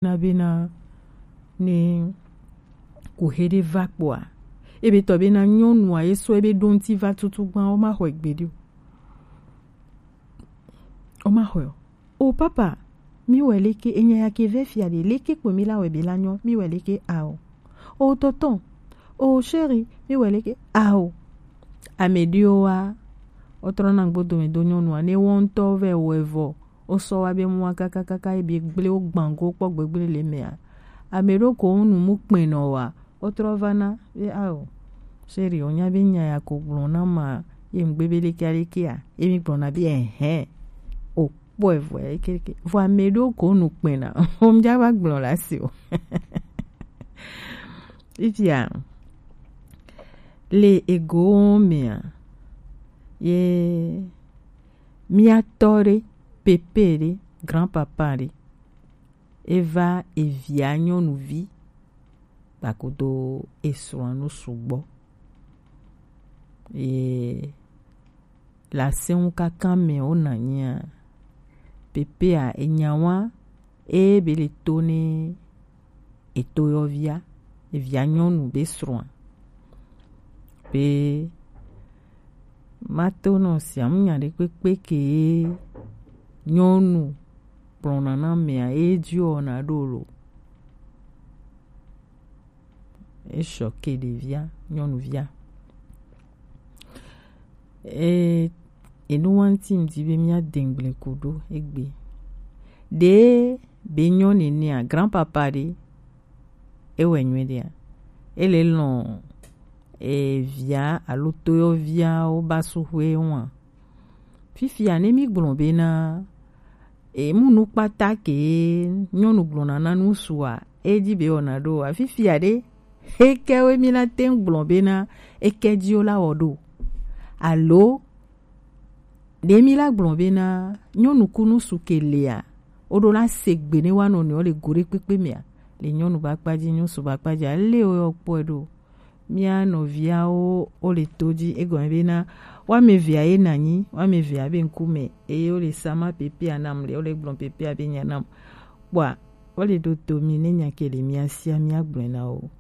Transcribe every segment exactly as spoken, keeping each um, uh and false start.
na bena ne ku he ɖe va kpoa, ebe tɔ bena nyɔnua ye sɔ ebe ɖo ŋuti va tutu gbã, wo ma xɔe gbeɖe o. Wo ma xɔe o. O papa, mi wɛ leke, enya ya ke vɛ fia ɖe, leke kpo mi la wɛ be la nyɔ, mi wɛ leke ao. O tonton, o chéri, mi wɛ leke ao. Ame ɖewo wa, wotrɔ na gbo dome do nyɔnua, ne wo ŋutɔ vɛ wɛ vɔ, wo sɔ wa be mu wa kakakaka, ebi gble wo gbango kpɔ gbegble le mea. Ame ɖewo ko nu mu kpɛnɔ wa, wotrɔ va na be ao. Chéri, o nya be nya ya ko gblɔ na ma, ye ŋgbe be leke leke a, ye mi gblɔ na be ɛhɛn. O kpɔe vɔ ya leke leke. Vɔ ame ɖewo ko nu kpɛna, o mi dza va gblɔ la si o. Ifia, le ego mea, ye mía tɔ ɖe, pépé ɖe, grand-papa ɖe, eva evia nyɔnuvi kpakudo esrɔ̃a nu sugbɔ. Ye le asɛnŋu kaka me wo na nyia, pépéa enya wa, e be le to ne etoyɔvia, evia nyɔnu be srɔ̃a. Be ma to nɔ sia mu nya ɖe kpekpe ke nyɔnu kplɔna na mea, e dzi wɔna ɖo lo. Eshɔ ke ɖevia, nyɔnuvia. E, enu wa ŋuti ŋdi be mía dengble ku ɖo egbe. Ɖe be nyɔ nenea, grand-papa ɖe, ewɛ nyuie ɖea, ele lɔn evia alo toyɔviawo ba suxwe wa. Fifia ne mi gblɔ bena, e, mu nu kpata ke nyɔnu gblɔna na ŋutsua, e dzi be wɔna ɖo. Afifia ɖe, he ke wo mi la te ŋu gblɔ bena, e ke dzi wo la wɔ ɖo. Alo, ɖe mi la gblɔ bena, nyɔnu ku ŋutsu ke lea, wo ɖo la se gbe ne wa nɔnɔewo le go ɖe kpekpe mea, le nyɔnu ba kpa dzi, ŋutsu ba kpa dzi, ale wo yɔ kpɔe ɖo. Mía nɔviawo wo le to dzi, egɔme bena, woame evea ye nanyi, woame evea be ŋkume, eye wo le sama pépéa nam le, wo le gblɔ pépéa be nya nam. Kpɔa, wo le ɖo to mi ne nya ke le mía sia mía gblɔe na wo.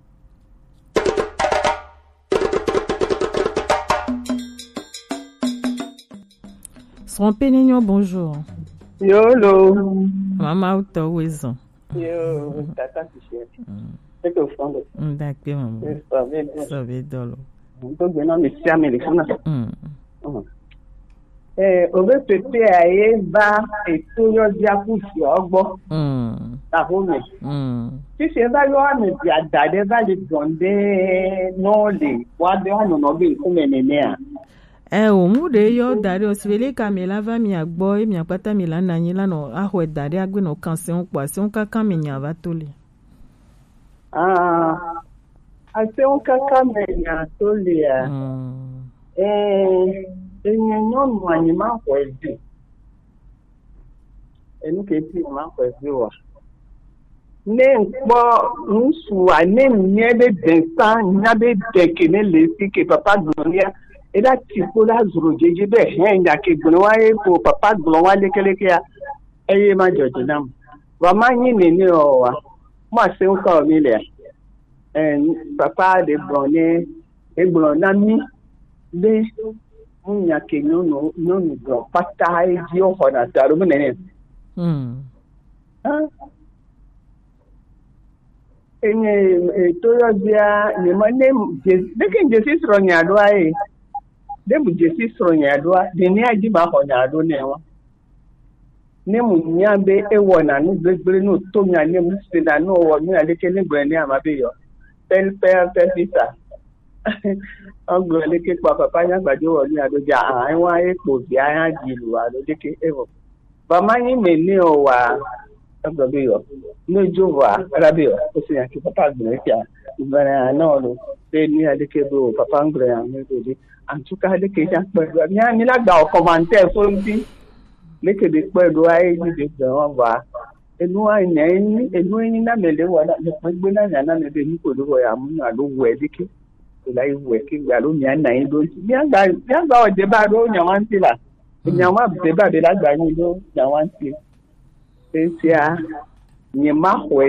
Srɔ̃ Penenyo, bonjour. Yolo. Mama utɔ wezɔn. Yo, tata Christian. Mm. Eke o fɔn do. Mm, dakpe, mama. Yes, sɔ be do. Sɔ be do lo. N to gbe na mi sia mi le funa. Mm. Mm. Eh, o be pépéa ye va eto yɔ dia ku si o gbɔ. Mm. Ta ho me. Mm. Sisi e va yɔ ame bia da ɖe va le dɔn ɖe nɔ le wa be wa nɔnɔ be ŋkume nenea. Eo, mu ɖe yɔ da ɖe o, si be leke ame la va mia gbɔ, ye mia kpata mi la na anyi la nɔ axɔe da ɖe agbe nɔ kan sɛnwo kpɔ, asɛnwo kaka me nya va to le. Ah, asɛnwo kaka me nya to lea. Mm. Eh, enye nyɔnu anyi ma xɔe vi. Enu ke ti ma xɔe vi wa. Ne ŋkpɔ ŋutsua, ne ŋnye be dɛsa nya be dɛ ke ne le si ke papa gblɔ nia, eda ti kpo la zro dzedze be hɛn nya ke gblɔ wa ye ko papa gblɔ wa lekelekea, eye ma dzɔdze nam. Wa ma nyi nene o wa. Ma se ŋkɔ mi le. Eh, papa de gblɔ ne, e gblɔ na mi be mu nya ke nyɔnu, nyɔnu gblɔ kpata edzi o xɔna ta ɖo mu nene. Mm. Ah. Enye, e, to yɔ dzia, ne ma, ne je, ɖeke ŋdze si srɔ̃ nya ɖoa ye. Ɖe mu dze si srɔ̃ nya ɖoa, ɖe ne adzi ma xɔ nya ɖo nɛ wa. Ne mu nya be ewɔna nu gbegblẽ, nu to nya, ne mu sena nu wɔ nu aɖeke ne gblɔe ne ama be yɔ. Pel, pel, pel, sisa. Egblɔ leke kpɔ papa nya gbadzo wɔ nu alo dza aha ewa ye kpo via ya dzi lu alo leke evɔ. Ba ma nyi me ne o wa. Egblɔ be yɔ. Ne dzo vɔ a, ela be yɔ. Esi nya ke papa gblɔ esia. Gblɔ ya na o lo. Be nu ya leke be o papa gblɔ ya me do de. En tout cas, leke ya kpɔ do. Mia mi la gba o commentaire so nti. Leke be kpɔ do ayi ni be gblɔ wa va. Enu a nya enyi, enu enyi na me le wa na me kpe gbe na nya na me be nu ko do ya mu na do wɛ leke. Ela yi wɛ ke gbe alo mia na yi ɖo ŋuti. Mia gba, mia gba wɔ deba ɖo nya wa ŋuti la. Nya wa deba be la gba nyi ɖo nya wa ŋuti. Esia. Nye ma xɔe